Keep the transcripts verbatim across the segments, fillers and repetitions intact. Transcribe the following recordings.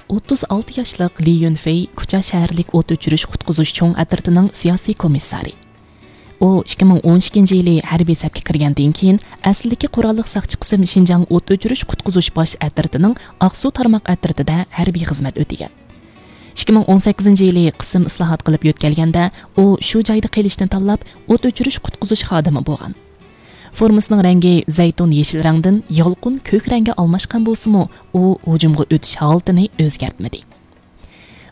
ئوتتۇز ئالتە ياشلىق لى يۈنفېي كۇچا شەھەرلىك ئوت ئۆچۈرۈش قۇتقۇزۇش چوڭ ئەترىتىنىڭ سىياسىي كومىسسارى. ئۇ ئىككى مىڭ ئون ئىككىنچى يىلى ھەربىي سەپكە كىرگەندىن كېيىن، ئەسلىدىكى قوراللىق ساقچى قىسىم شىنجاڭ ئوت ئۆچۈرۈش قۇتقۇزۇش باش ئەترىتىنىڭ ئاقسۇ تارماق ئەترىتىدە ھەربىي خىزمەت ئۆتىگەن. ئىككى مىڭ ئون سەككىزىنچى يىلى قىسىم ئىسلاھات قىلىپ يۆتكەلگەندە، ئۇ شۇ جايدا قېلىشنى تاللاپ، ئوت ئۆچۈرۈش قۇتقۇزۇش خادىمى بولغان. فورمىسىنىڭ رەڭگى زەيتۇن يېشىل رەڭدىن يالقۇن كۆك رەڭگە ئالماشقان بولسىمۇ، ئۇ ھۇجۇمغا ئۆتۈش ھالىتىنى ئۆزگەرتمىدى.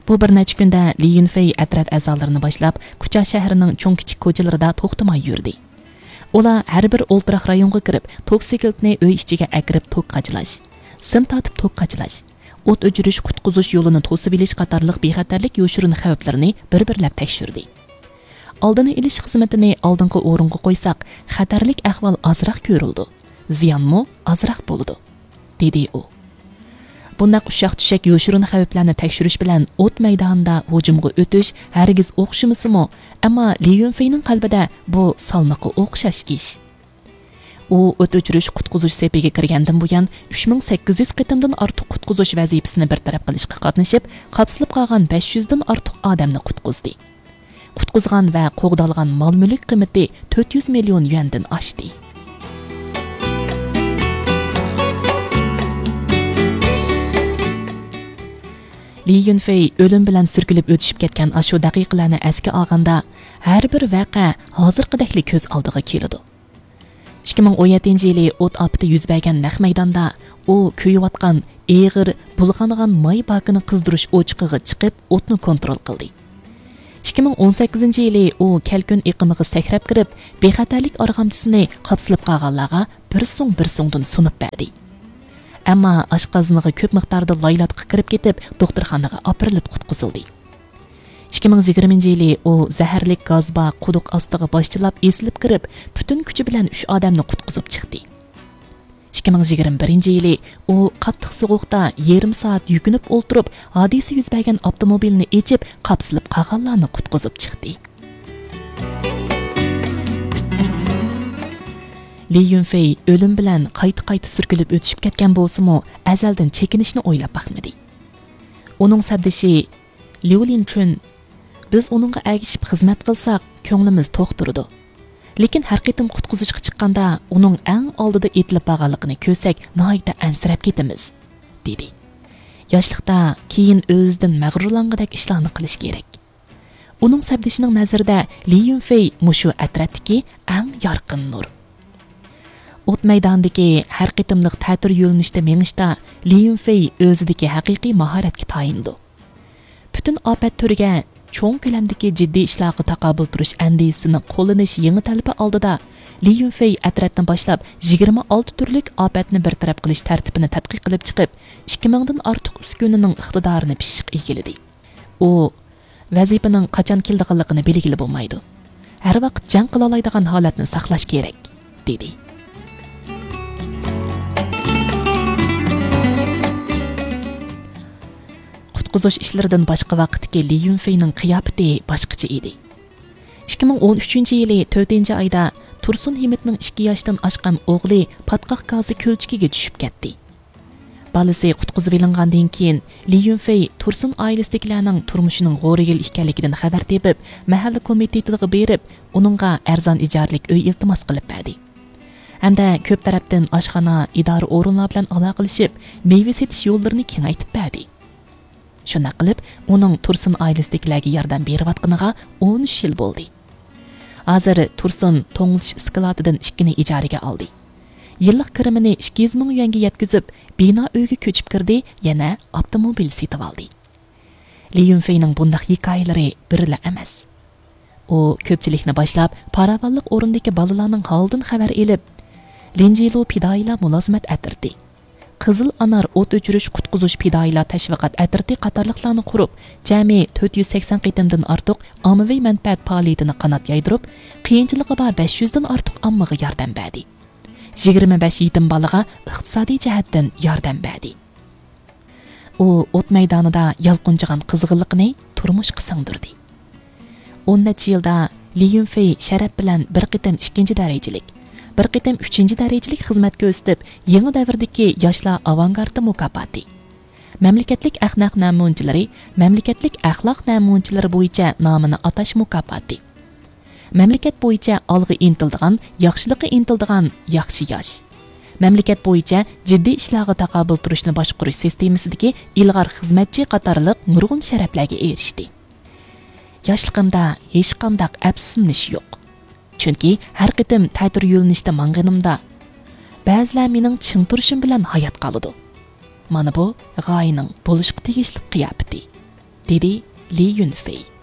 بۇ بىر نەچچە كۈندە لى يۈنفېي ئەترەت ئەزالىرىنى باشلاپ، كۇچا شەھىرىنىڭ چوڭ-كىچىك كوچىلىرىدا توختىماي يۈردى. ئۇلار ھەر بىر ئولتۇراق رايونغا كىرىپ، توك سېكىلتىنى ئۆي ئىچىگە ئەكىرىپ توك قاچىلاش، سىم تارتىپ توك قاچىلاش، ئوت ئۆچۈرۈش، قۇتقۇزۇش يولىنى توسۇۋېلىش قاتارلىق بىخەتەرلىك يوشۇرۇن خەۋپلىرىنى بىر-بىرلەپ تەكشۈردى. ئالدىنى ئېلىش خىزمىتىنى ئالدىنقى ئورۇنغا قويساق، خەتەرلىك ئەھۋال ئازراق كۆرۈلىدۇ، زىيانمۇ ئازراق بولىدۇ، دېدى ئۇ. بۇنداق ئۇششاق-چۈششەك يوشۇرۇن خەۋپلەرنى تەكشۈرۈش بىلەن ئوت مەيدانىدا ھۇجۇمغا ئۆتۈش ھەرگىز ئوخشىمىسىمۇ، ئەمما لى يۈنفېينىڭ قەلبىدە بۇ سالمىقى ئوخشاش ئىش. ئۇ ئوت ئۆچۈرۈش قۇتقۇزۇش سېپىگە كىرگەندىن بۇيان، ئۈچ مىڭ سەككىز يۈز قېتىمدىن ئارتۇق قۇتقۇزۇش ۋەزىپىسىنى بىر تەرەپ قىلىشقا قاتنىشىپ، قاپسىلىپ قالغان بەش يۈزدىن ئارتۇق ئادەمنى قۇتقۇزدى. قۇتقۇزغان ۋە قوغدالغان مال-مۈلۈك قىممىتى تۆت يۈز مىليون يۈەندىن ئاشتى. لى يۈنفېي ئۆلۈم بىلەن سۈركىلىپ ئۆتۈشۈپ كەتكەن ئاشۇ دەقىقىلەرنى ئەسكە ئالغاندا، ھەر بىر ۋەقە ھازىرقىدەكلا كۆز ئالدىغا كېلىدۇ. ئىككى مىڭ ئون يەتتىنچى يىلى ئوت ئاپىتى يۈز بەرگەن نەق مەيداندا ئۇ كۆيۈۋاتقان ئېغىر بۇلغانغان ماي باكىنى قىزدۇرۇش ئوچىقىغا چىقىپ، ئوتنى كونترول قىلدى. ئىككى مىڭ ئون سەككىزىنچى يىلى ئۇ كەلكۈن ئېقىمىغا سەكرەپ كىرىپ، بىخەتەرلىك ئارغامچىسىنى قاپسىلىپ قالغانلارغا بىر سۇڭ بىر سۇڭدىن سۇنۇپ بەردى. ئەمما ئاشقازىنىغا كۆپ مىقداردا لايلاتقۇ كىرىپ كېتىپ، دوختۇرخانىغا ئاپىرىلىپ قۇتقۇزۇلدى. ئىككى مىڭ يىگىرمىنچى يىلى ئۇ زەھەرلىك گاز بار قۇدۇق ئاستىغا باشچىلاپ ئېسىلىپ كىرىپ، پۈتۈن كۈچى بىلەن ئۈچ ئادەمنى قۇتقۇزۇپ چىقتى. ئىككى مىڭ يىگىرمە بىرىنچى يىلى ئۇ قاتتىق سوغۇقتا يېرىم سائەت يۈكۈنۈپ ئولتۇرۇپ، ھادىسە يۈز بەرگەن ئاپتوموبىلنى ئېچىپ، قاپسىلىپ قالغانلارنى قۇتقۇزۇپ چىقتى. لى يۈنفېي ئۆلۈم بىلەن قايتا-قايتا سۈركىلىپ ئۆتۈشۈپ كەتكەن بولسىمۇ، ئەزەلدىن چېكىنىشنى ئويلاپ باقمىدى. ئۇنىڭ سەپدىشى ليۇ لىنچۈن، «بىز ئۇنىڭغا ئەگىشىپ خىزمەت قىلساق، كۆڭلىمىز توق تۇرىدۇ. لېكىن ھەر قېتىم قۇتقۇزۇشقا چىققاندا، ئۇنىڭ ئەڭ ئالدىدا ئېتىلىپ بارغانلىقىنى كۆرسەك، ناھايىتى ئەنسىرەپ كېتىمىز»، دېدى. ياشلىقتا كېيىن ئۆزىدىن مەغرۇرلانغۇدەك ئىشلارنى قىلىش كېرەك. ئۇنىڭ سەپدىشىنىڭ نەزىرىدە لى يۈنفېي مۇشۇ ئەترەتتىكى ئەڭ يارقىن نۇر. ئوت مەيدانىدىكى ھەر قېتىملىق تەتۈر يۆنىلىشتە مېڭىشتا لى يۈنفېي ئۆزىدىكى ھەقىقىي ماھارەتكە تايىنىدۇ. پۈتۈن ئاپەت تۈرىگە چوڭ كۆلەمدىكى جىددىي ئىشلارغا تاقابىل تۇرۇش ئەندىزىسىنى قوللىنىش يېڭى تەلىپى ئالدىدا، لى يۈنفېي ئەترەتنى باشلاپ يىگىرمە ئالتە تۈرلۈك ئاپەتنى بىر تەرەپ قىلىش تەرتىپىنى تەتقىق قىلىپ چىقىپ، ئىككى مىڭدىن ئارتۇق ئۈسكۈنىنىڭ ئىقتىدارىنى پىششىق ئىگىلىدى. ئۇ ۋەزىپىنىڭ قاچان كېلىدىغانلىقىنى بىلگىلى بولمايدۇ. ھەر ۋاقىت جەڭ قىلالايدىغان ھالەتنى ساقلاش كېرەك، دېدى. قۇتقۇزۇش ئىشلىرىدىن باشقا ۋاقىتتىكى لى يۈنفېينىڭ قىياپىتى باشقىچە ئىدى. ئىككى مىڭ ئون ئۈچىنچى يىلى تۆتىنچى ئايدا تۇرسۇن ھىمىتنىڭ ئىككى ياشتىن ئاشقان ئوغلى پاتقاق گازى كۆلچىكىگە چۈشۈپ كەتتى. بالىسى قۇتقۇزۇۋېلىنغاندىن كېيىن، لى يۈنفېي تۇرسۇن ئائىلىسىدىكىلەرنىڭ تۇرمۇشىنىڭ غورىگىل ئىكەنلىكىدىن خەۋەر تېپىپ، مەھەللە كومىتېتىغا بېرىپ، ئۇنىڭغا ئەرزان ئىجارىلىك ئۆي ئىلتىماس قىلىپ بەردى. ھەمدە كۆپ تەرەپتىن ئاشخانا، ئىدارە ئورۇنلار بىلەن ئالاقىلىشىپ، مېۋە سېتىش يوللىرىنى كېڭەيتىپ بەردى. شۇنداق قىلىپ، ئۇنىڭ تۇرسۇن ئائىلىسىدىكىلەرگە ياردەم بېرىۋاتقىنىغا ئون ئۈچ يىل بولدى. ھازىر تۇرسۇن توڭلىتىش ئىسكىلاتىدىن ئىككىنى ئىجارىگە ئالدى. يىللىق كىرىمىنى ئىككى يۈز مىڭ يۈەنگە يەتكۈزۈپ، بىنا ئۆيگە كۆچۈپ كىردى، يەنە ئاپتوموبىل سېتىۋالدى. لى يۈنفېينىڭ بۇنداق ھېكايىلىرى بىرلا ئەمەس. ئۇ كۆپچىلىكنى باشلاپ، پاراۋانلىق ئورنىدىكى بالىلارنىڭ ھالىدىن خەۋەر ئېلىپ، لىنجىلۇ پىدائىيلار مۇلازىمەت ئەترىتى، قىزىل ئانار ئوت ئۆچۈرۈش قۇتقۇزۇش پىدائىيلار تەشۋىقات ئەترىتى قاتارلىقلارنى قۇرۇپ، جەمئىي تۆت يۈز سەكسەن قېتىمدىن ئارتۇق ئاممىۋى مەنپەئەت پائالىيىتىنى قانات يايدۇرۇپ، قىيىنچىلىقى بار بەش يۈزدىن ئارتۇق ئاممىغا ياردەم بەردى. يىگىرمە بەش يېتىم بالىغا ئىقتىسادىي جەھەتتىن ياردەم بەردى. ئۇ ئوت مەيدانىدا يالقۇنجىغان قىزغىنلىقىنى تۇرمۇشقا سىڭدۈردى. ئون نەچچە يىلدا لى يۈنفېي شەرەپ بىلەن بىر قېتىم ئىككىنچى دەرىجىلىك، بىر قېتىم ئۈچىنچى دەرىجىلىك خىزمەت كۆرسىتىپ، يېڭى دەۋردىكى ياشلار ئاۋانگارتى مۇكاپاتى، مەملىكەتلىك ئەخلاق نەمۇنىچىلىرى، مەملىكەتلىك ئەخلاق نەمۇنىچىلىرى بويىچە نامىنى ئاتاش مۇكاپاتى. مەملىكەت بويىچە ئالغا ئىنتىلىدىغان، ياخشىلىققا ئىنتىلىدىغان ياخشى ياش. مەملىكەت بويىچە جىددىي ئىشلارغا تاقابىل تۇرۇشنى باشقۇرۇش سىستېمىسىدىكى ئىلغار خىزمەتچى قاتارلىق نۇرغۇن شەرەپلەرگە ئېرىشتى. ياشلىقىمدا ھېچقانداق ئەپسۇسلىنىش يوق. چۈنكى ھەر قېتىم تەتۈر يۆنىلىشتە ماڭغىنىمدا، بەزىلەر مېنىڭ چىڭ تۇرۇشۇم بىلەن ھايات قالىدۇ. مانا بۇ غايىنىڭ بولۇشقا تېگىشلىك قىياپىتى، دېدى لى يۈنفېي.